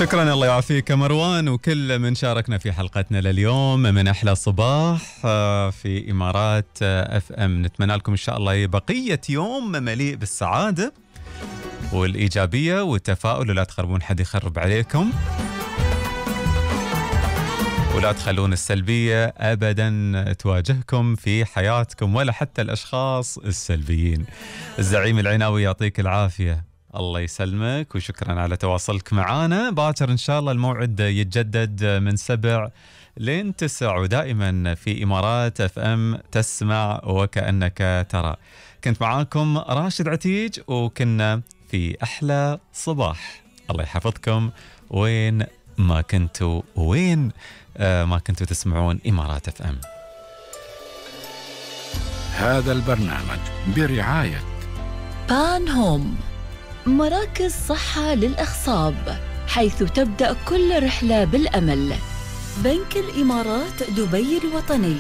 شكرا، الله يعافيك مروان وكل من شاركنا في حلقتنا لليوم من أحلى صباح في إمارات اف ام. نتمنى لكم إن شاء الله بقية يوم مليء بالسعادة والإيجابية والتفاؤل، ولا تخربون حد يخرب عليكم، ولا تخلون السلبية أبدا تواجهكم في حياتكم ولا حتى الأشخاص السلبيين. الزعيم العناوي يعطيك العافية، الله يسلمك، وشكرا على تواصلك معنا. باكر إن شاء الله الموعد يتجدد من 7 لين 9، ودائما في إمارات اف ام تسمع وكأنك ترى. كنت معاكم راشد عتيج، وكنا في أحلى صباح. الله يحفظكم وين ما كنتوا، وين ما كنتوا تسمعون إمارات اف ام. هذا البرنامج برعاية بان هوم، مراكز صحة للأخصاب، حيث تبدأ كل رحلة بالأمل. بنك الإمارات دبي الوطني.